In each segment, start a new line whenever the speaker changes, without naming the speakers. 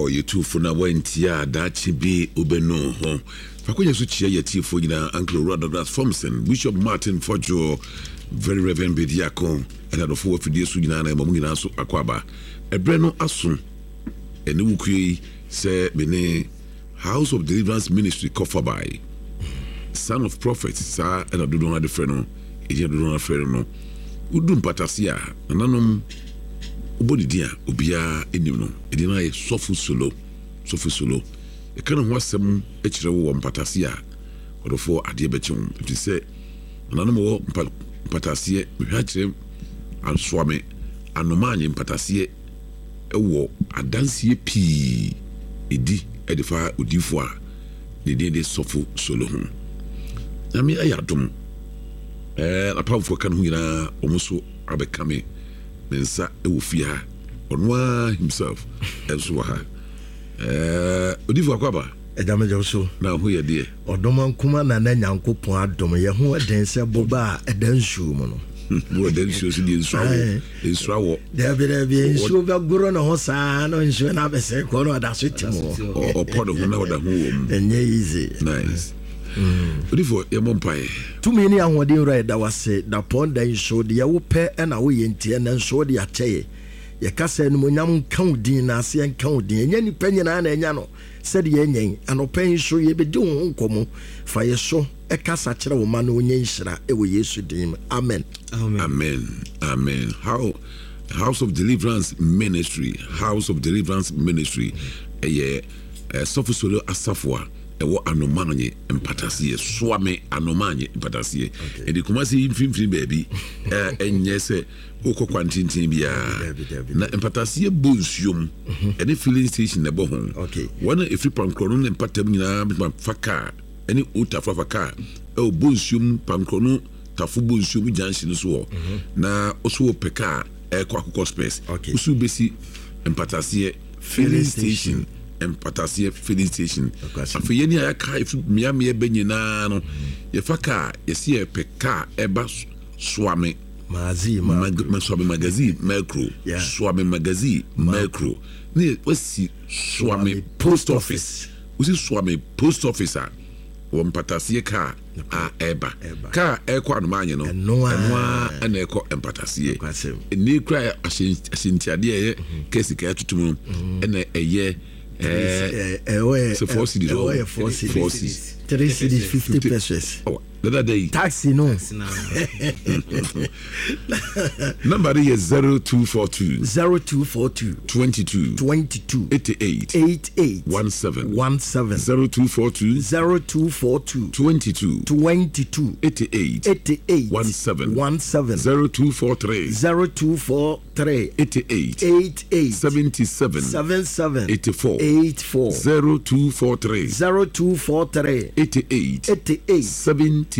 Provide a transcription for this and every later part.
Oh, yɛtu fo na woantie a, daakye bi wobɛnu wo ho. Fa akwanya so kyia yɛn atiefoɔ nyinaa, Uncle Owura Douglas Fomson, Bishop Martin Fodjour, Very Reverend Bediako, ɛne adɔfoɔ wɔ afidie so nyinaa na yɛma mo nyinaa so akwaaba. Ɛberɛ no aso, ɛne wo kue yi sɛ me ne House of Deliverance Ministry kɔfabae, Son of Prophet, saa ɛna dodoɔ no ara de frɛ no, ɛgyina dodoɔ no ara frɛ no no. Wodu mpatase a, nananom wobɔ ne din a, obiara nim no. Ɛdin no ayɛ Sɔfo Solo, Sɔfo Solo. Yɛka ne ho asɛm kyerɛ wo wɔ mpatase a, ɔdɔfoɔ adeɛ bɛkye wo. Ɛfiri sɛ, nananom wɔ mpa, mpataseɛ, mehwɛ akyerɛ asoame, anomaanye mpataseɛ wɔ adanseɛ pii ɛdi de fa odiyifoɔ a ne din de Sɔfo Solo ho. Nyame ayɛ adom, ɛɛ, n'apamfoɔ ka ne ho nyinaa, wɔn nso abɛka me ne nsa wɔ fie ha. Ɔno ara himself nso wɔ ha. Ɛɛ, odiyifoɔ Akwaaba.
Agya megye wo so.
Na ho yɛ deɛ.
Ɔdom nkoma Nana Nyankopɔn adom yɛ ho den sɛ boba a ɛda nsuo mu no.
Bo ɛda nsuo so deɛ nsuo awɔ. Nsuo awɔ.
Dabi dabi nsuo bɛgoro ne ho saa na nsuo no abɛsɛn kɔ na ɔda so te mu.
Ɔpɔ ne ho na ɔda ho wɔ mu.
Ɛnyɛ easy.
Nice. Odifo yɛmmɔ mpaeɛ.
Tumi ne ahoɔden wura yɛda wo ase dapɔn da yi so deɛ wopɛ na woyɛ nti ɛnɛ nso wode akyɛ yɛ. Yɛka sɛ animuonyam nka wo din na aseɛ nka wo din. Ɛnyɛ nnipa nyinaa na anya no sɛdeɛ yɛanya yi. Anɔpa yi nso yɛbɛdi wo ho nkɔmmɔ. Fa yɛ so kasa kyerɛ wo mma na wɔnyɛ nhyira wɔ Yesu din mu. Amen.
Amen. Amen. How House of Deliverance Ministry, House of Deliverance Ministry, ɛyɛ eh, Sɔfo Solo asafo a ɛwɔ Anomanye mpataseɛ, Soame Anomanye mpataseɛ. Ɛde Kumasi yi mfimfini baabi, ɛnyɛ sɛ wokɔ kwan tenten biara. Na mpataseɛ bɔ nsuo mu, mhm. ɛne filling station na ɛbɔ ho. Wɔn a ɛfiri pankorɔ no ne mpatam nyinaa bɛtumi afa kaa ɛne otafo afa kaa ɛwɔ bɔ nsuo mu pankorɔ no tafo bɔ nsuo mu junction no so hɔ. Mhm. Na woso wopɛ kaa ɛkɔ akokɔ spɛs. Woso bɛsi mpataseɛ filling station mpataseɛ filling station. Afei yɛn a yɛaka ɛfiri mmeammea bɛ nyinaa no yɛfa kaa yɛsi yɛpɛ kaa ɛba Soame Soame Magazine Mɛkro Soame Magazine Mɛkro ne wasi Soame post office wosi Soame post office a wɔ mpataseɛ kaa a ɛba kaa ɛkɔ anomaanye no ɛno a ɛna ɛkɔ mpataseɛ ɛnni kura ahyɛntiadeɛ ɛyɛ kɛsi kaa tutum no ɛna ɛyɛ ɛɛ sɛ 4 cedis
ɔ 4 cedis 3 cedis 50 pesos.
Dada da yi.
Taxi no.
Number no yɛ 0242.
0242.
22.
22.
88.
88.
17.
17.
0242.
0242.
22.
22.
88.
88.
17.
17.
0243.
0243. 3.
88.
88.
77.
77.
84.
84.
0243.
0243.
88.
88.
77.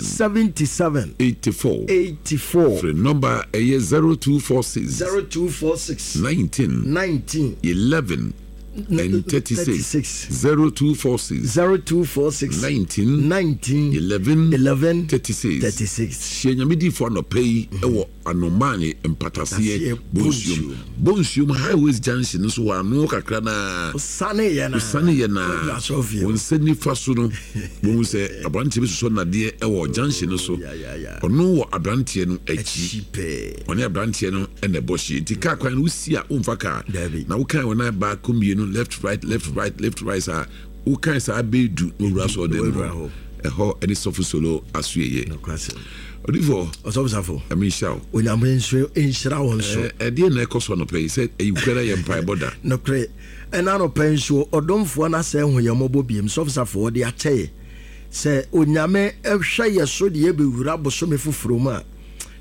77.
84.
84.
Frɛ nɔmba a ɛyɛ 0246.
0246.
19.
19.
11 and 36. 0246.
0246.
19.
19.
11.
11.
36.
36.
Hyia Nyame difoɔ anɔpa yi wɔ Anomane mpataseɛ Bonsuom. Bonsuom Highways Junction no so wɔ ano kakra no ara.
Wosane
yɛ no ara, wo nsa nifa so no, wohu sɛ aberanteɛ bi sosɔ nnadeɛ wɔ junction no so. Ɔno wɔ aberanteɛ no akyi. Ɔne aberanteɛ no na ɛbɔ hyeɛ. Nti kaa kwan no wosi a womfa kaa. Na wokan wɔn nan baako mmienu left right left right left right saa. Wokan saa bɛyɛ du na wowura asɔredan mu hɔ. Ɛhɔ ne Sɔfo Solo asoɛeɛ. Odifoɔ.
Ɔsɔfo Safo.
Nyame nhyira wo.
Onyame nso nhyira wo nso.
Ɛdeɛn na ɛkɔ so anɔpa yi sɛ ɛyi kura na yɛ mpaebɔ da.
Nokorɛ, ɛna anɔpa yi nso ɔdomfoɔ no asɛe hu yɛn mmɔbɔ biem. Sɔfo Safo, ɔde akyɛ yɛ sɛ Onyame hwɛ yɛ so de yɛ bɛwura bosome foforɔ mu a,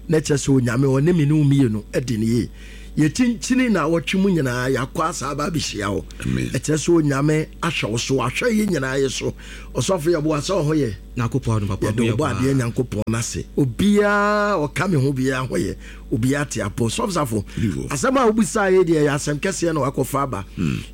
na kyerɛ sɛ Onyame ɔne me ne wo mmienu adi no yie. Yɛkyinkyini naawɔtwe mu nyinaa yɛakɔ asa aba abɛhyia wo. Ɛkyerɛ sɛ Onyame ahwɛ wo so, wahwɛ yɛ nyinaa yɛ so. Ɔsɔfo yɛboa sɛ ɔho yɛ.
Nyankopɔn adom papa
Yɛde
ho yɛ
ɔbɔ adeɛ
paa.
Nyankopɔn no ase. Obiara ɔka me ho biara ho yɛ. Obiara te apɔ. Sɔfo Safo, asɛm a wobisaa yɛ deɛ ɛyɛ asɛm kɛseɛ na wakɔfa aba.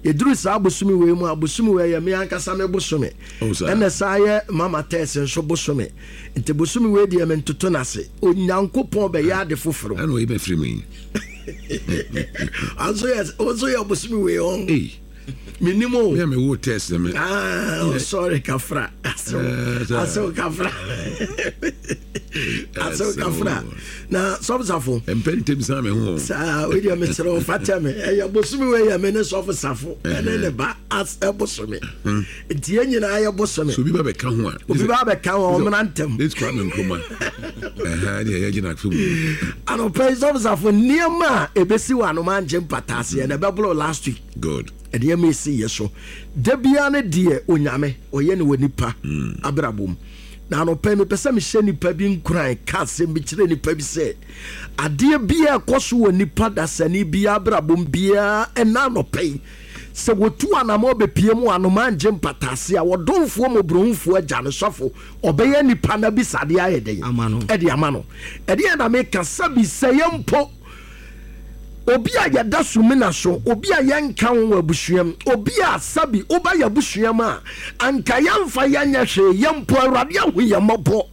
Yɛduru saa bosome wei mu a, bosome wei ɛyɛ me ankasa me bosome.
Oh, saa.
Ɛna saa yɛ Mama Tess nso bosome. Nti bosome wei deɛ mentoto no ase. Onyankopɔn bɛyɛ ade foforɔ.
Ɛna ɔyi bɛfiri mu yi.
Anso yɛ, wo nso yɛ bosome wei ɔn.
Ei.
Menim o.
Me a mewoo test me.
Ah, oh, sorry kafra. Asew. Eh, Asew kafra. Asew kafra. Na sɔfo safo.
Mpɛ ntem san me ho.
Saa, we deɛ mesrɛ wo fa kyɛ me. Ɛyɛ bosome wei yɛ me ne sɔfo safo. Ɛne ne ba as ɛbosome. Nti yɛn nyinaa yɛ bosome.
So obi ba bɛka ho a.
Obi ba bɛka ho a ɔmena ntɛm.
This Kwame Nkrumah. Ɛha ne ɛyɛ gyina afei mu.
Anɔpa yi sɔfo safo nneɛma a ebesi wɔ anoma ngye mpataaseɛ na ɛbɛboro last week.
Good.
Nneɛma esi yɛ so da biara ne deɛ Onyame ɔyɛ no wɔ nipa abrabɔ mu. Na anɔpa yi mepɛ sɛ mehyɛ nipa bi nkuran ka asɛm bi kyerɛ nipa bi sɛ adeɛ biara ɛkɔ so wɔ nipa dasani biara abrabɔ mu biara ɛna anɔpa yi sɛ wɔtu anamɔ bɛpie mu anomaa ngye mpataase a wɔdomfoɔ mmɔborɔhufoɔ agya no sɔfo ɔbɛyɛ nipa no abisadeɛ ayɛ dɛn ɛde ama no. Ɛdeɛ na meka sɛbi sɛ yɛ mpo Obi a yɛda sumina so, obi a yɛnka ho wɔ abusua mu, obi a sɛbi woba yɛn abusua mu a, anka yɛmfa yɛn nyɛ hwee, yɛn mpo Awurade ahu yɛn mmɔbɔ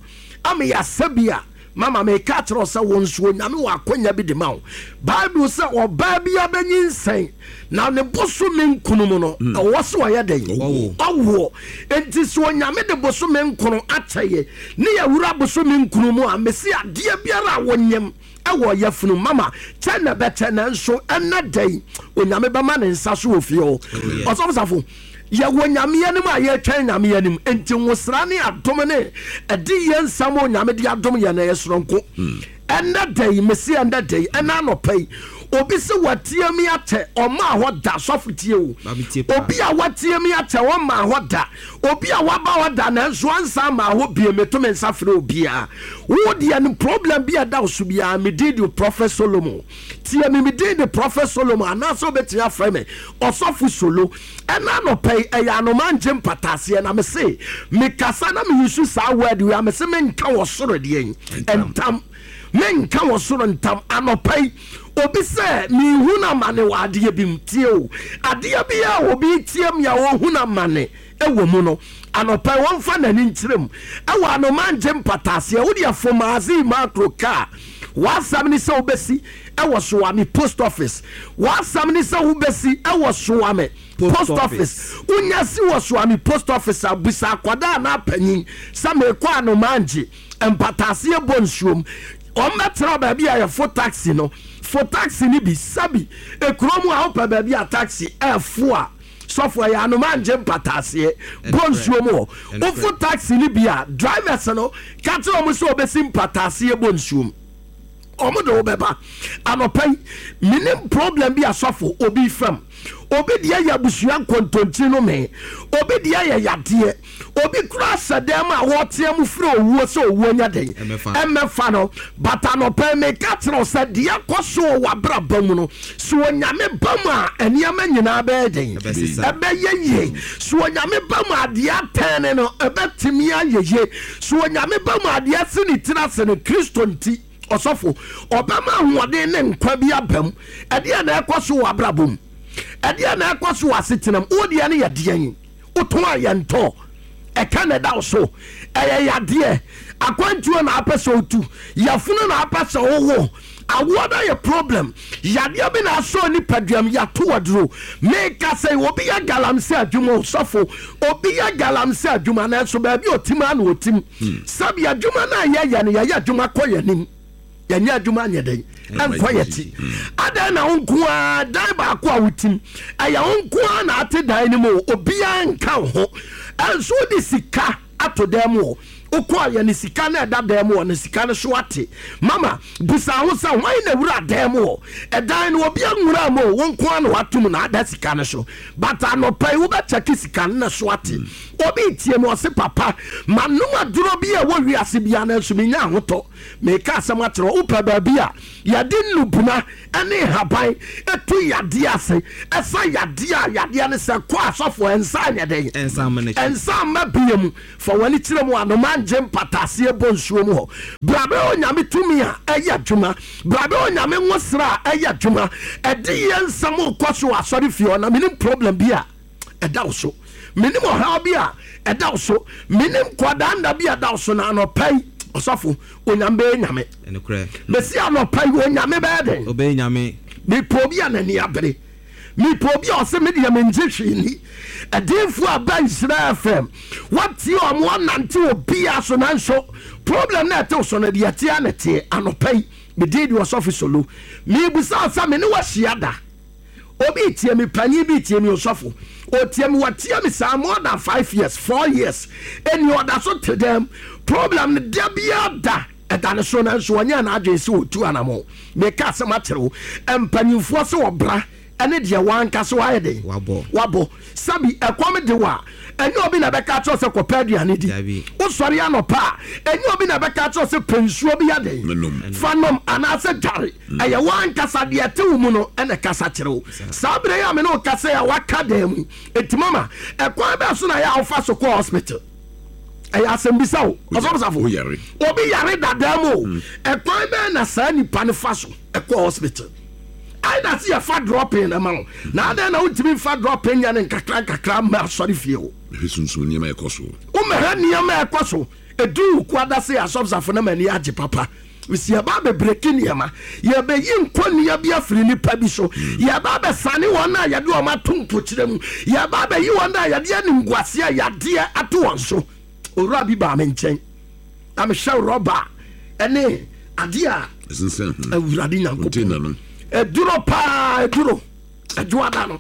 ama yɛasɛ bi a, mama meka akyerɛ wo sɛ wo nso Onyame wɔ akwanya bi de ma wo. Bible sɛ ɔbaa bi abɛnyinsɛn na ne bosome nkunu mu no, ɛwɔ sɛ ɔyɛ dɛn? Ɔwoɔ. Enti sɛ Onyame de bosome nkono akyɛ yɛ ne yɛwura bosome nkunu mu a, mese adeɛ biara a wonyem wɔ yafunu mama kyɛ na ɛbɛkyɛ nanso ɛnɛ da yi Onyame bɛma ne nsa so wɔ fie hɔ. Ɔsɔfo Safo, yɛwɔ Nyame anim a yɛtwɛn Nyame anim nti nwosra ne adom ne ɛde yɛ nsɛm a Onyame de adom yɛn no ɛyɛ soronko. Ɛnɛ da yi, mese ɛnɛ da yi, ɛnɛ anɔpa yi, obi se watie me akyɛ ɔmaa hɔ da, sɔfo tie o, obi a watie me akyɛ ɔmaa hɔ da, Obi a waba hɔ da nanso ansan maa hɔ bio meto me nsa frɛ obiara. Wo deɛ no problem bi a ɛda wo so biara me din de Prophet Solomon. Tie me me din de Prophet Solomon anaasɛ wobɛtumi afrɛ me Ɔsɔfo Solo. Ɛna anɔpa yi ɛyɛ anoma ngye mpataaseɛ na me se mekasa na me use saa word wei a me se menka wɔ soro deɛn ntam. Menka wɔ soro ntam anɔpa yi obi sɛ mehu no amane wɔ adeɛ bi mu. Tie o, adeɛ bi a obi retie me a ɔhu no amane wɔ mu no, anɔpa yi ɔmfa n'ani nkyerɛ mu. Ɛwɔ anoma ngye mpataaseɛ, wodeɛ Fomazi Macro kaa w'asɛm ne sɛ wobɛsi wɔ Soame post office. W'asɛm ne sɛ wobɛsi wɔ Soame post office. Wonya si wɔ Soame post office a, bisa akwadaa anaa panyin sɛ merekɔ anoma ngye. Mpataaseɛ bɔ nsuom. Wɔbɛkyerɛ wo baabi a yɛfo taxi no. Fo taxi no bi. Sɛbi, ekuro mu a wopɛ baabi a taxi ɛfo a, sɔfo ɛyɛ anoma ngye mpataaseɛ bɔ nsuom hɔ. Wofo taxi no bi a, drivers no ka kyerɛ wɔn sɛ wɔbɛsi mpataaseɛ bɔ nsuom. Wɔn de wo bɛba. Anɔpa yi, menim problem bi a sɔfo obi fam. Obi deɛ yɛ abusua nkontonkyi no mee. Obi deɛ yɛ yadeɛ. Obi koraa hyɛ dan mu a ɔretea mu frɛ owuo sɛ owuo nyɛ den mmɛfa no. But anɔpa yi meka kyerɛ wo sɛ deɛ ɛkɔ so wɔ w'abrabɔ mu no, sɛ Onyame ba mu a nneɛma nyinaa bɛyɛ den? Ɛbɛyɛ yie. Sɛ Onyame ba mu a deɛ atɛne no ɛbɛtumi ayɛ yie. Sɛ Onyame ba mu a deɛ asi ne tiri ase no Kristo nti, ɔsɔfo, ɔbɛma ahoɔden ne nkwa bi aba mu. Ɛdeɛn na ɛkɔ so wɔ w'abrabɔ mu? Ɛdeɛn na ɛkɔ so wɔ asetena mu? Wo deɛ no yɛ deɛn? Wotɔn a yɛntɔ. Ɛka na ɛda wo so. Ɛyɛ yadeɛ. Akwantuo na apɛ sɛ wotu. Yafunu na apɛ sɛ wowo. Awoɔ no ayɛ problem. Yadeɛ bi na asɔ nipaduam. Yɛato aduro. Meka sɛ obi yɛ galamsey adwuma o, sɔfo. Obi yɛ galamsey adwuma nanso baabi a ɔtim ara na ɔtim. Sɛbi adwuma no a yɛyɛ no, yɛyɛ adwuma kɔ yɛn anim. Yɛnyɛ adwuma nyɛ dɛn ɛnkɔ yɛ ti. Adɛn na wo nko ara dan baako a wotim, ɛyɛ wo nko ara na ate dan no mu o, obiara nka wo ho. Ɛnso wode sika ato dan mu o, wokɔɔ yɛ ne sika no ɛda dan mu hɔ no, sika no so ate. Mama, bisa ho sɛ hwan na wura dan mu hɔ? Ɛdan no obi anwura mu o, wo nko ara na wato mu na ada sika no so. But anɔpa yi wobɛkyɛke sika no na so ate. Obi retie me ɔse papa, manom aduro bi a ɛwɔ wiase biara nanso mennya ahotɔ. Mereka asɛm akyerɛ wo, wopɛ baabi a yɛde nnubona ne nhaban tu yadeɛ ase, ɛsa yadeɛ a, yadeɛ no sɛ kɔ asɔfo ɛnsa anyɛ dɛn? Ɛnsa mma bia mu. Fa w'ani kyerɛ mu, anomaa ngye mpataaseɛ bɔ nsuo mu hɔ. Bra bɛyɛ Onyame tumi a ɛyɛ adwuma. Bra bɛyɛ Onyame nwosra a ɛyɛ adwuma. Ɛdeyɛ nsɛm rekɔ so wɔ asɔre fie hɔ na menim problem bi a ɛda wo so. Menim ɔhaw bi a ɛda wo so. Menim kwadaa nna bi a ɛda wo so na anɔpa yi, ɔsɔfo, Onyame bɛyɛ Nyame.
Ɛnokorɛ.
Mesi anɔpa yi, Onyame bɛyɛ dɛn?
Ɔbɛyɛ Nyame.
Mepɛ obi a n'ani abere. Mepɛ obi a ɔse me deɛ mengye hwee nni. Adiyifoɔ a ba Nhyira FM, woatie wɔn, woanante obiara so nanso problem no a ɛte wo so no deɛ ɛteɛ ara na ɛteɛ. Anɔpa yi, me din de Ɔsɔfo Solo. Merebisa wo sɛ me ne wo ahyia da? Obi retie me, panin bi retie me, osɔfo. Ɔtie me, watie me saa more than 5 years, 4 years. Ɛnni ɔda so te dɛm. Problem no da biara da ɛda ne so nanso ɔnyɛɛ n'adwene sɛ ɔtu anamɔ. Meka asɛm akyerɛ wo, mpanimfoɔ sɛ ɔbra ɛne deɛ wankasa wayɛ den
Wabɔ.
Wabɔ. Sɛbi ɛkɔm de wo a, ɛnyɛ obi na ɛbɛka akyerɛ wo sɛ kɔpɛ aduane di.
Dabi.
Wosɔre anɔpa a, ɛnyɛ obi na ɛbɛka akyerɛ wo sɛ pɛ nsuo bi yɛ den
Nom.
fa nom anaasɛ dware. Ɛyɛ w'ankasa deɛ ɛte wo mu no na ɛkasa kyerɛ wo. Saa berɛ yi a me ne wo kasa yi a waka dan mu yi, enti mama, ɛkwan bɛn so na ɛyɛ a wofa so kɔ hospital? Ɛyɛ asɛmbisa o, Ɔsɔfo Safo.
Woyare.
Obi yare dadaa mu o, ɛkwan bɛn na saa nipa no fa so kɔ hospital? Either sɛ yɛfa dropping na ma wo, na adɛn na wontumi mfa dropping nyɛ no nkakra nkakra mma asɔre fie hɔ?
Mehwɛ sunsum nneɛma a ɛkɔ so.
Womɛhwɛ nneɛma a ɛkɔ so. Ɛduru wo kuada se Asɔfo Safo na m'ani agye papa. Mesi yɛba abɛbreki nneɛma. Yɛbɛyi nkɔnnua bi afiri nnipa bi so. Yɛba abɛsane wɔn a yɛde wɔn ato mpokyerɛ mu. Yɛba abɛyi wɔn a yɛde animguaseɛ, yadeɛ ato wɔn so. Owura bi baa me nkyɛn na mehwɛ rɔba ne adeɛ a
Ɛsensɛn ho.
Awurade Nyankopɔn.
Container no.
Ɛduro paa, ɛduro. Adwoada no.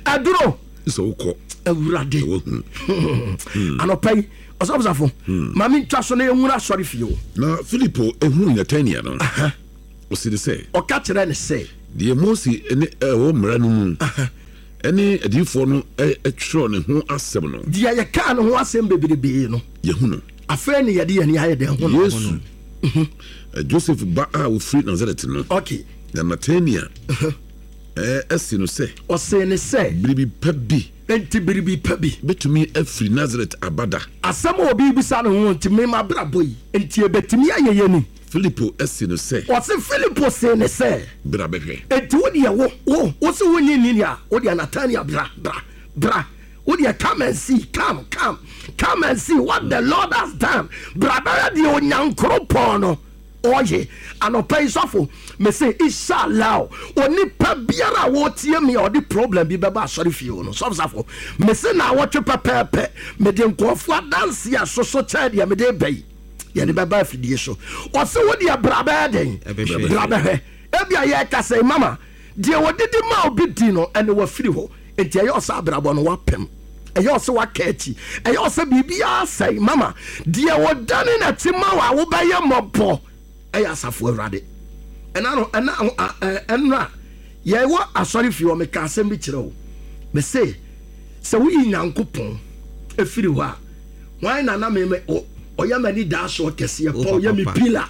Ɛduro.
Sɛ wokɔ.
Awurade.
Na wahu.
Anɔpa yi, Ɔsɔfo ma mentwa so na yɛnwura asɔre fie o.
Na Filipo ehuu Natanael no, ɔsee no sɛ.
Ɔka kyerɛɛ no sɛ.
Deɛ Mose ne ɛwɔ mmara no mu ne adiyifoɔ no twerɛ ne ho asɛm no.
Deɛ yɛkaa ne ho asɛm bebrebe no.
Yɛahu no.
Afei ne yɛde yɛn ani ayɛ dɛn hu no.
Yesu, Joseph ba a ɔfiri Nasaret no.
Okay.
Na Natanael see no sɛ.
Ɔsee no sɛ.
Biribi pa bi.
Enti biribi pa bi.
Bɛtumi afiri Nasaret aba da?
Asɛm a obi rebisa ne ho nti, me m'abrabɔ yi, enti ɛbɛtumi ayɛ yɛ ni?
Filipo see no sɛ.
Ɔse Filipo see no sɛ.
Bra bɛhwɛ.
Enti wo deɛ wo, wo, wo se wonnye nni deɛ a, wo deɛ Natanael bra, bra, bra, wo deɛ come and see, come, come, come and see what the Lord has done, bra bɛhwɛ deɛ Onyankoropɔn no Ɔye, anɔpa yi sɔfo, mese Ishallah onipa biara a ɔretie me a ɔde problem bi bɛba asɔre fie hɔ no, sɔfo safo, mese naawɔtwe pɛpɛɛpɛ, mede nkurɔfoɔ adanseɛ a ɛsoso kyɛn deɛ mede reba yi, yɛde bɛba afidie so. Ɔse wo deɛ bra bɛyɛ dɛn? Bra bɛhwɛ. Ebia yɛrekasa yi, mama, Deɛ wɔdidi ma obi di no, ɛnna wafiri hɔ. Enti ɛyɛ wo sɛ abrabɔ no woapem. Ɛyɛ wo sɛ woaka akyi. Ɛyɛ wo sɛ biribiara asɛe. Mama, deɛ ɔdane n'akyi ma wo a wobɛyɛ mmɔbɔ yɛ Asafo Awurade. Ɛna no, ɛna, ɛnora, yɛwɔ asɔrefie hɔ, meka asɛm bi kyerɛ wo. Mese, sɛ woyi Nyankopɔn firi hɔ a, Hwan na na me me ɔyɛ m'anidaasoɔ kɛseɛ pa, ɔyɛ me pila.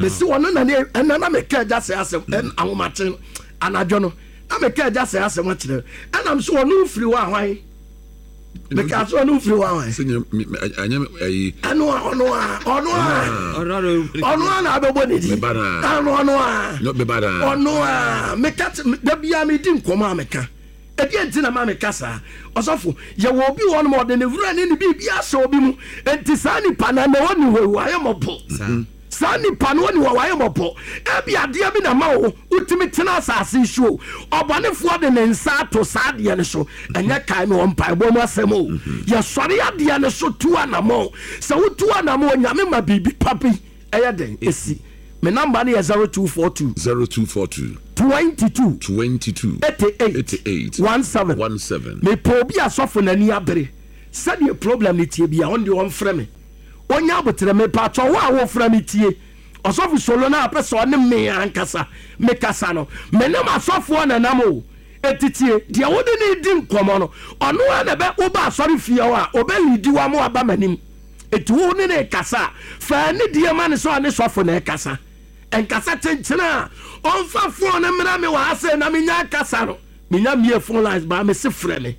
Mesi ɔno na ne ɛna na meka agya sɛ asɛm ɛn ahomakye no anadwo no na meka agya sɛ asɛm akyerɛ ɛnam so ɔno firi hɔ ahwan meka so ɔno firi hɔ ahwan ɛno a ɔno a ɔno a ɔno a na abɛbɔ ne di ɛno ɔno a ɔno a meka da biara medi nkɔmɔ a meka. Ɛdeɛn nti na ɛma meka saa? Ɔsɔfo, yɛwɔ obi wɔ hɔnom a ɔde ne werɛ ne ne biribiara hyɛ obi mu. Enti saa nipa no, ɛnnɛ ɔnni hɔ yi, wayɛ mmɔbɔ. Saa nipa no ɔnni hɔ, wayɛ mmɔbɔ. Ebia adeɛ bi na ɛma wo wotumi tena asase yi so o. Ɔbɔnefoɔ de ne nsa ato saa adeɛ no so. Ɛnyɛ kae me wɔ mpaebɔ mu asɛm o. Yɛsɔre adeɛ no so tu anammɔn. Sɛ wotu anammɔn, Onyame ma biribi pa bi ɛyɛ dɛn ɛsi. Me number no yɛ 0242.
0242.
22.
22.
88.
88.
17.
17.
Mepɛ obi a sɔfo n'ani abere sɛdeɛ problem no tie bia ɔno deɛ ɔmfrɛ me ɔnya aboterɛ. Mepatwɔ wo a wofrɛ me tie ɔsɔfo solo no a pɛ sɛ ɔne me ankasa mekasa no, me ne m'asɔfoɔ na nam o. Enti tie deɛ wode ne di nkɔmmɔ no, ɔno ara na ɛbɛ woba asɔre fie hɔ a ɔbɛ liidi wo ama waba m'anim. Enti wo ne no rekasa a, fa anidie ma no sɛ ɔne sɔfo na ɛrekasa. Nkasa kyenkyene a ɔmfa phone no mmrɛ me wɔ ha sei na menya akasa no. Menya mmie phone lines baa mese frɛ me.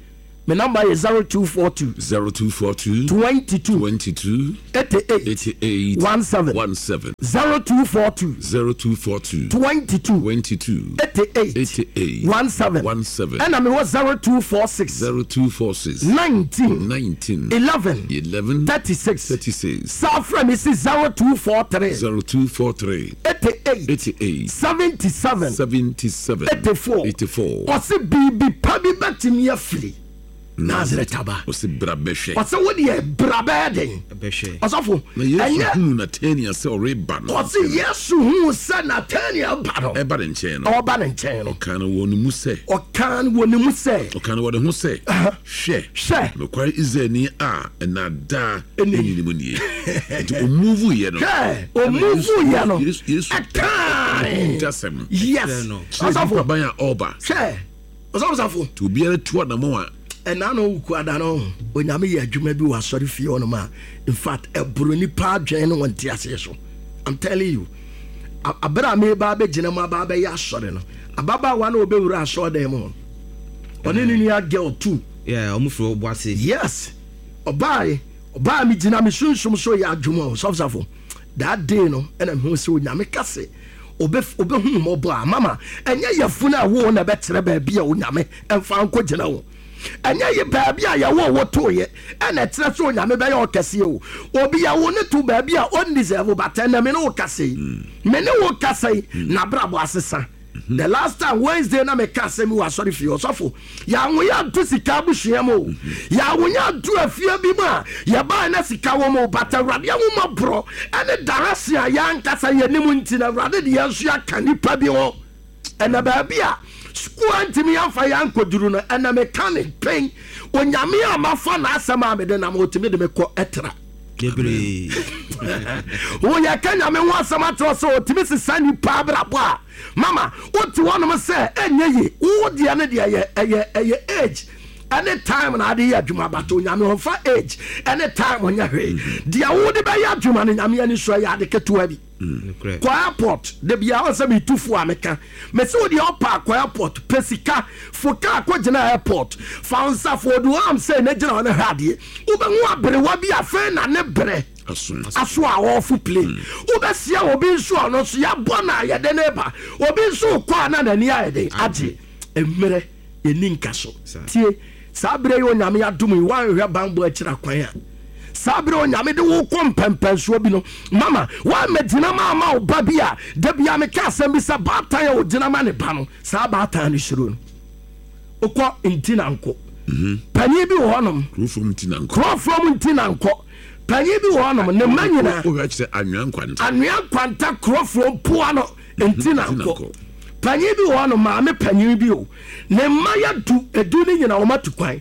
Me number yɛ 0242.
0242.
22.
22.
88.
88.
17.
17.
0242.
0242.
22.
22.
88.
88.
17.
17.
Ɛna mewɔ 0246.
0246.
19.
19.
11.
11.
36.
36.
Saa frɛ me si 0243.
0243.
88.
88.
77.
77.
84.
84.
Ɔse biribi pa bi bɛtumi afiri Nazareth aba.
Ɔse bra bɛhwɛ.
Ɔse wo deɛ bra bɛyɛ den.
Bɛhwɛ.
Ɔsɔfo,
Na Yesu
ɛnyɛ
hunu Natanael sɛ ɔreba no.
Ɔse Yesu huu sɛ Natanael ba no.
Ɛba ne nkyɛn no.
Ɔreba ne nkyɛn no.
Ɔkaa no wɔ ne mu sɛ.
Ɔkaa no wɔ ne mu sɛ.
Ɔkaa no wɔ ne ho sɛ. Hwɛ.
Hwɛ.
Nokware Israelni a nnaadaa nni ne mu nie. Nti ɔmuvu yɛ no.
Hwɛ, ɔmuvu yɛ no.
Yesu
Ɛkae.
dasɛm.
Yes.
Kyerɛ nipa ban a ɔreba.
Hwɛ, ɔsɔfo safo.
Nti obiara tu anamɔn a.
Ɛna no Wukuada no, Onyame yɛ adwuma bi wɔ asɔre fie hɔnom a, in fact, ɛboro nipa adwene ne wɔn nteaseɛ so. I'm telling you. Abere a meba abɛgyina mu aba abɛyɛ asɔre no, ababaawa no ɔbɛwura asɔredan mu hɔ no, ɔne ne nua girl too.
Yeah, ɔmo firi Obuasi.
Yes, ɔbaae, ɔbaa me gyina me sunsum so yɛ adwuma o, sɔfo safo. That day no, ɛna mehu sɛ Onyame ka se, ɔbɛ ɔbɛhu mmɔbɔ a, mama, ɛnyɛ yafunu a ɛwoo na ɛbɛkyerɛ baabi a Onyame mfa nkɔgyina o. Ɛnyɛ ye baabi a yɛwoo wo tooeɛ ɛna ɛkyerɛ sɛ Onyame bɛyɛ ɔkɛseɛ o. Obi yɛwo no to baabi a ɔndeserve but ɛnɛ me ne wo kasa yi, me ne wo kasa yi, n'abrabɔ asesa. The last time Wednesday na meka asɛm yi wɔ asɔre fie, ɔsɔfo, yɛanwo yɛ anto sika abusua mu o, yɛanwo yɛ anto afie bi mu a yɛbae na sika wɔ mu o, but Awurade ahummɔborɔ ɛne direction a yɛn ankasa yɛnim nti no Awurade de yɛn nso yɛaka nnipa bi ho. Ɛna baabi a sukuu antumi amfa yɛn ankɔduru no, ɛna meka ne pɛn, Onyame a mafa n'asɛm a mede nam, ɔtumi de me kɔ ɛtra.
Bebree.
Woyɛ ka Nyame ho asɛm akyerɛ sɛ ɔtumi sesa nipa abrabɔ a, mama wote hɔnom sɛ ɛnyɛ ye, wo deɛ no deɛ ɛyɛ ɛyɛ ɛyɛ age ɛne time na ade yɛ adwuma, but Onyame ɔmfa age ɛne time nyɛ hwee. Deɛ wode bɛyɛ adwuma no Nyame ani so ɛyɛ ade ketewa bi. Kɔ airport da biara ɔn sɛ metu fo a meka mese wo deɛ ɔpa a kɔ airport pɛ sika fo car kɔ gyina airport fa wo nsa fo ɔdu hɔ am sɛ na gyina hɔ na hwɛ adeɛ wobɛhu aberewa bi afei na ne berɛ aso a ɔɔfo plane wobɛsia obi nso a ɔno nso yɛabɔ no a yɛde ne ba obi nso kɔ a na n'ani ayɛ den agye mmerɛ Yɛnni nkaso. Tie, saa berɛ yi Onyame adom yi, woanhwɛ banbɔ akyiri akwan a, saa berɛ Onyame de wo kɔ mpɛmpɛnsoɔ bi no, mama, woammɛgyina ma ama wo ba bi a, da biara meka asɛm bi sɛ, baatan a ɔgyina ma ne ba no, saa baatan no suro no. Wokɔ Ntinanko, panin bi wɔ hɔnom.
Kurofrom Ntinanko.
Kurofrom Ntinanko. Panyin bi wɔ hɔnom, ne mma nyinaa.
Wohwɛ kyerɛ Anwea Nkwanta.
Anwea Nkwanta Kurofrom poa no. Nti na nkɔ. Panyin bi wɔ hɔ no, maame panyin bi o, ne mma yɛ du, edu no nyina wɔn atu kwan.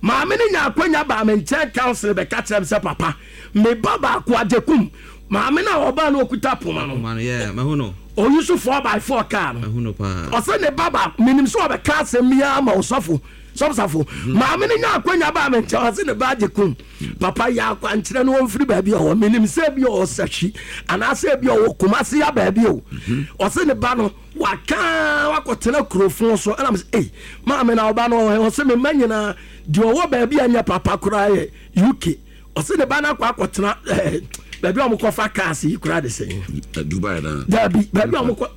Maame no nya akwanya baa me nkyɛn council bɛka kyerɛ me sɛ papa, me ba baako Agyekum, maame no a ɔbaa no okuta poma no,
Poma no, yeah, mahu no.
ɔyi so 4x4 car no.
Mahu no paa.
Ɔsɛ ne ba baako, menim sɛ ɔbɛka asɛm bi ara ma ɔsɔfo, sɔfosafo. Maame no nya akwanya baa me nkyɛn, ɔsɛ ne ba Agyekum, Papa yɛ akwankyerɛ no ɔmfiri baabi a ɔwɔ menim sɛ ebi ɔwɔ sahwi anaasɛ ebi ɔwɔ Kumasi ya baabi o mhm. Ɔse ne ba no waka wakɔtena kurofo so ɛna mesɛ ei maame na ɔba no ɔwɔ ɔse me mma nyinaa deɛ ɔwɔ baabi a nyɛ papa koraa yɛ UK ɔse ne ba no akɔ akɔtena ɛɛ eh, baabi a wɔkɔfa cars yi koraa de sɛn
eh, Dubai na
daabi baabi a wɔkɔ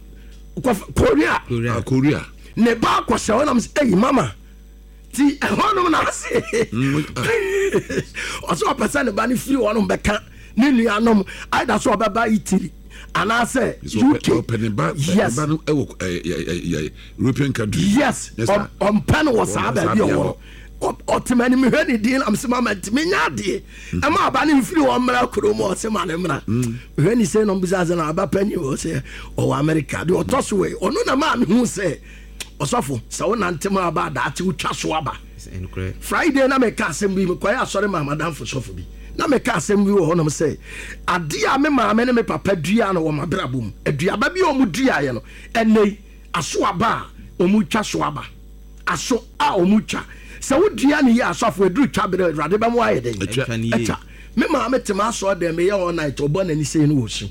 kɔfa Korea
ah, Korea
ne ba akɔhyɛ hɔ na mesɛ ei mama Ti ɛhɔnom na ase. Ɔsɛ ɔpɛ sɛ ne ba no firi hɔnom bɛka ne nuanom either sɛ ɔbɛba Italy anaasɛ UK.
Ɔpɛ ne ba
yes.
ba no ɛwɔ European country.
Yes, ɔmpɛ no wɔ saa baabi ɔwɔ no. Ɔte m'anim mehwɛ ne din na mesɛ mama ntumi nyɛ adeɛ ɛma aba no mfiri hɔ mmra kurom ɔse ma ne mmra. Mehwɛ ne sei na ɔmbisa sɛ na aba panyin wɔ sɛ ɔwɔ America deɛ ɔtɔ so wei ɔno na maa mehu sɛ Ɔsɔfo, sɛ wo nante ma aba a, daakye wotwa so aba. Friday na meka asɛm bi, mekɔyɛ asɔre maa m'adamfo sɔfo bi. Na meka asɛm bi wɔ hɔnom sɛ, adeɛ a me maame ne me papa dua no wɔ m'abrabɔ mu, aduaba bi a wɔn duaeɛ no, ɛnnɛ yi, aso aba a wɔtwa so aba. Aso a wɔtwa. Sɛ wodua no yie a, asɔfo, ɛduru twa berɛ a, Awurade bɛma woayɛ dɛn? Atwa. Me maame te m'asɔre dɛm, meyɛ all night, ɔbɔ n'ani sei no wɔ su.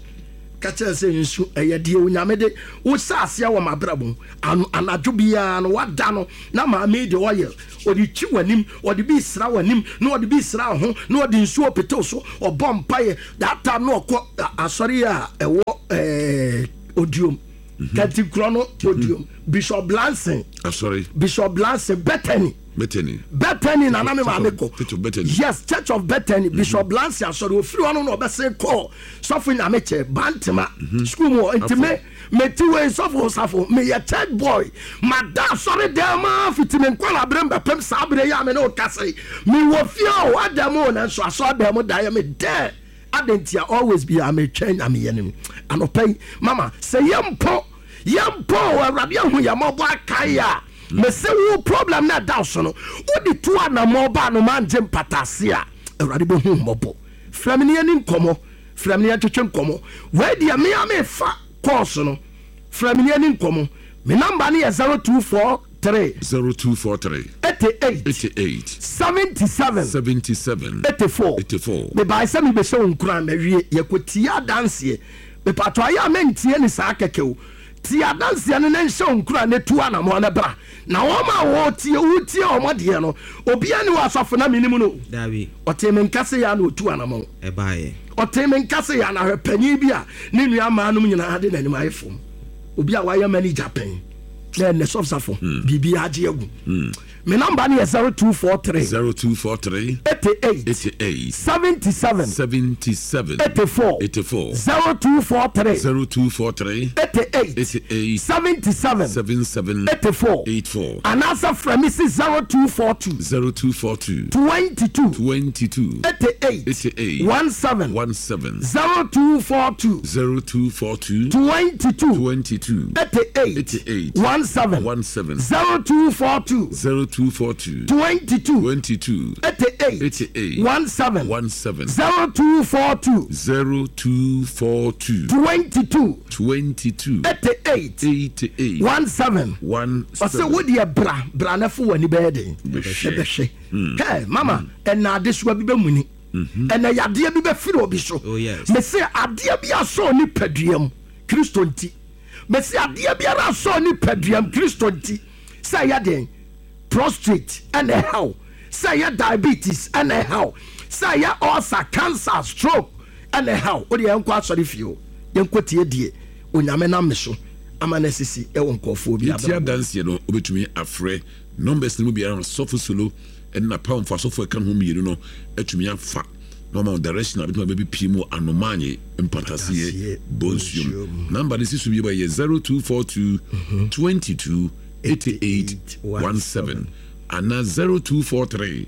Ka kyerɛ no sɛ, Nsu, ɛyɛ deɛ Onyame de wo hyɛ aseɛ wɔ m'abrabɔ mu. Ano, anadwo biara no, wada no, na maame yi de oil, ɔde twi w'anim, ɔde bi sra w'anim, na ɔde bi sra wo ho, na ɔde nsuo pete wo so, ɔbɔ mpaeɛ. That time na ɔkɔ asɔre a ɛwɔ ɛɛ Odiom, Kantinkorɔ no Odiom, Bishop Blanson,
Asɔre.
Bishop Blanson, Bethany.
Bethany.
Bethany na na me maame kɔ.
Church of Bethany.
Yes, Church of Bethany, Bishop Blanson asɔre. Ofiri hɔ no na ɔbɛsen kɔɔ Sɔfo Nyame kyɛ Bantema school mu hɔ. Nti me mete wei sɔfo safo meyɛ church boy. Mada asɔre dan mu ara fiti me nkwadaa bere mu bɛpem saa bere yi a me ne wo kasa yi. Mewɔ fie o, ada mu o, nanso asɔre dan mu da yɛ me dɛ. Adɛn ntia? Always biara metwɛn Nyame yɛ no. Anɔpa yi, mama sɛ yɛ mpo Yɛn mpo o, Awurade ahu yɛn mmɔbɔ akae a, mese wo problem no a ɛda wo so no, wode tu anammɔn ba anomaa ngye mpataase a, Awurade bɛhu wo mmɔbɔ. Frɛ me na yɛni nkɔmmɔ, frɛ me na yɛntwetwe nkɔmmɔ. Wei deɛ me ara mefa course no, frɛ me na yɛni nkɔmmɔ. Me number no yɛ 0243.
0243.
88.
88.
77.
77.
84.
84.
Mebae sɛ mebɛhyɛ wo nkuran, mawie. Yɛkɔtie adanseɛ. Mepatɔ ayɛ a mentie ne saa kɛkɛ o. Tie adanseɛ no na nhyɛ wo nkuran na tu anamɔn na bra. Na wɔn a wɔretie wotie wɔn deɛ no, obiara nni hɔ asɔfo na menim no o.
Dabi.
Ɔtee me nka sei ara na ɔtuu anamɔn.
Ɛbaeɛ.
Ɔtee me nka sei ara na hwɛ panin bi a ne nua mmaa nom nyinaa de n'anim ayɛ fam. Obi a wayɛ manager pɛn na ɛnnɛ sɔfo safo biribiara agye agu. Me number no yɛ 0243.
0243.
88.
88.
77.
77.
84.
84.
0243.
0243.
88.
88.
77.
77.
84.
84.
Anaasɛ frɛ me si 0242.
0242.
22.
22.
88.
88.
17.
17.
0242.
0242.
22.
22.
88.
88.
17.
17.
0242.
0242.
22.
22.
88.
88.
17.
17.
0242.
0242.
22.
22.
88.
88.
17.
17.
Ɔsɛ wo deɛ bra bra na fo w'ani bɛyɛ den
Bɛhwɛ.
ɛbɛhwɛ kɛ mama ɛna adesoa bi bɛmuni ɛna yadeɛ bi bɛfiri obi so.
Oh, yes.
Mese adeɛ bi asɔ nipadua mu Kristo nti. Mese adeɛ biara asɔ nipadua mu Kristo nti. Sɛ ɛyɛ den prostrate ɛna ɛhaw, sɛ ɛyɛ diabetes ɛna ɛhaw, sɛ ɛyɛ ulcer, cancer, stroke ɛna ɛhaw. Wo deɛ yɛnkɔ asɔre fie o, yɛnkɔ tie deɛ Onyame nam me so ama no asisi ɛwɔ nkurɔfoɔ bi
Yɛtie
abrabɔ mu.
adanseɛ no, wobɛtumi afrɛ numbers no mu biara ma Sɔfo Solo ne n'apamfo asɔfo a ɛka ne ho mmienu no atumi afa na wɔama wo direction a bɛtumi abɛbɛpie mu wɔ Anomanye Mpataseɛ Bonsuom. Number no si so bio ɛyɛ 0242 22 88 17 anaa 0243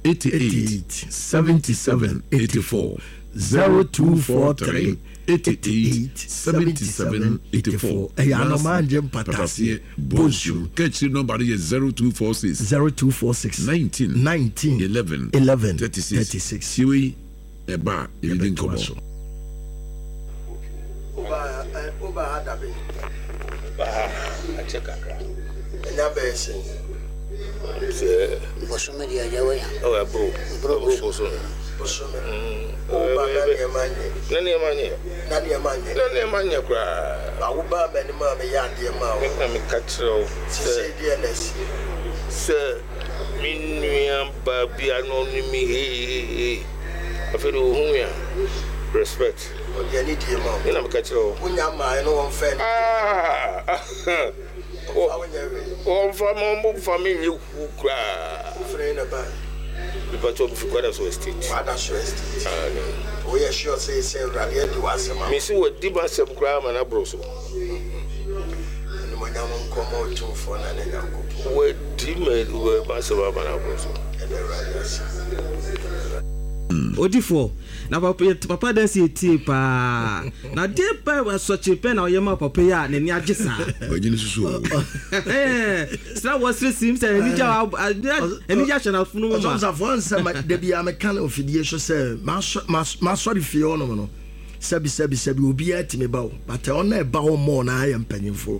88 77 84 0243 88 77 84.
Ɛyɛ Anomaa Ngye Mpataseɛ Bonsuom.
Ka akyire nɔmba no yɛ 0246
0246
19
19
11
11
36.
36.
Tie wei ɛba a yɛbɛdi
Yɛbɛtoa
nkɔmmɔ.
so. Woba ha da bɛn?
Ba ha akyɛ kakra.
Ɛnya bɛyɛ sɛn?
Sɛ.
Bosome deɛ agya wanya.
Ɔ ɛboro.
Ɛboro
bosome.
Bosome. Woba na nneɛma nyɛ.
Na nneɛma nyɛ.
Na nneɛma nyɛ.
Na nneɛma nyɛ koraa.
Ba wobaa m'anim a meyɛ adeɛ maa wo.
Me na meka kyerɛ wo sɛ.
Sesei deɛ na asi.
Sɛ me nua baa bi a na ɔne me heehehe afei deɛ ɔhu me a respect.
Ɔde anidie ma wo.
Me na meka kyerɛ wo.
Wonya mmaeɛ no wɔmfa anidie ma wo. Wɔmfa wo nyɛ hwee.
Wɔmfa me wɔmfa me nyɛ hu koraa.
Wofiri he na ɛbaeɛ?
Mepakyɛw mefi Kwadaso Estate.
Kwadaso Estate.
Aane.
Woyɛ sure sɛ sɛ Awurade adi w'asɛm ama wo?
Mese wadi m'asɛm koraa ama no aboro so.
Animuonyam nkɔ ma Otumfoɔ na ne Nyankopɔn.
Wadi m'asɛm ama no aboro so.
Yɛda Awurade ase.
Odifoɔ, na papa yɛ papa dɛ sɛ yɛtie paa. Na deɛ pɛ asɔkye pɛ na ɔyɛ ma papa yi a n'ani agye saa.
Ɔgye ne susu o.
Sra wɔ sere sim sɛ anigye anigye ahyɛ n'afono mu ma.
Ɔsɔfoɔ nsɛm da bi a meka no ofidie so sɛ masɔre fie hɔnom no sɛbi sɛbi sɛbi obiara tumi ba o but ɔno ɛba hɔ mmɔɔ na ayɛ mpanyinfoɔ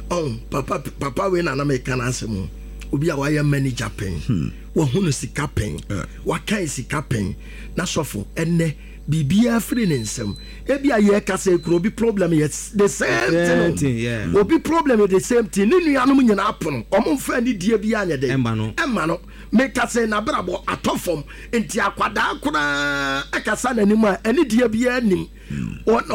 ɔn papa papa wei na na meka n'asɛm o obi a wayɛ manager pɛn. Wahunu sika pɛn, wakan sika pɛn, na sɔfo, ɛnnɛ, Biribiara firi ne nsam. Ebia yɛkasa yi koraa obi problem yɛ the same
Same
thing
thing, yeah.
o. Obi problem yɛ the same thing. Ne nuanom nyinaa pono. Wɔn mfa anidie biara nyɛ dɛn?
Ɛmma no.
Ɛmma no. Mekasa yi n'abrabɔ atɔ fam. Nti akwadaa koraa ɛkasa n'anim a anidie biara nnim. Ɔno.